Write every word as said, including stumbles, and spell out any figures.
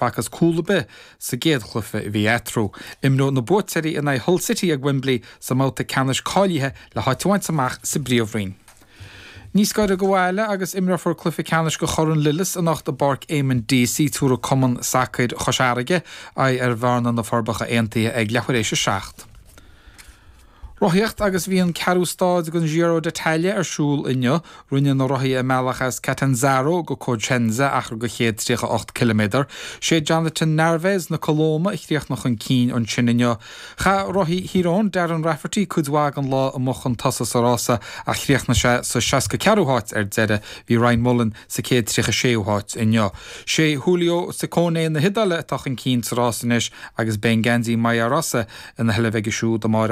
B'fhacthas cúl ar bith sa gcéad chluiche a bhí eatarthu. Imreoidh na buaiteoirí in aghaidh Hull City ag Wembley sa mbabhta ceannais cáilithe le háit a bhaint amach sa bPríomhroinn. Níos gaire do bhaile agus imreofar cluiche ceannais de Chorn Lillis anocht i bPáirc Eamon Deacy tabharfaidh Cumann Sacair Chois Fharraige aghaidh ar Bhearna na Forbacha Aontaithe ag leathuair éis a seacht. Rothaíocht agus bhí an ceathrú stáid den Giro d'Italia ar siúl inniu, rinne na rothaithe a mbealach as Catanzaro go Cosenza achar de chéad tríocha ocht ciliméadar. Sé Jonathan Narvaez na Colóime a chríochnaigh chun cinn ansin inniu. Chaith rothaí Thír Eoghain, Darren Rafferty, cuid mhaith den lá amuigh chun tosaigh sa rása ach chríochnaigh sé sa seasca ceathrú háit ar deireadh. Bhí Ryan Mullen sa céad tríocha séú háit inniu. Sé Giulio Ciccone na hIodáile atá chun cinn sa rás anois agus beidh an geansaí maglia rosa ina sheilbh aige siúd amárach.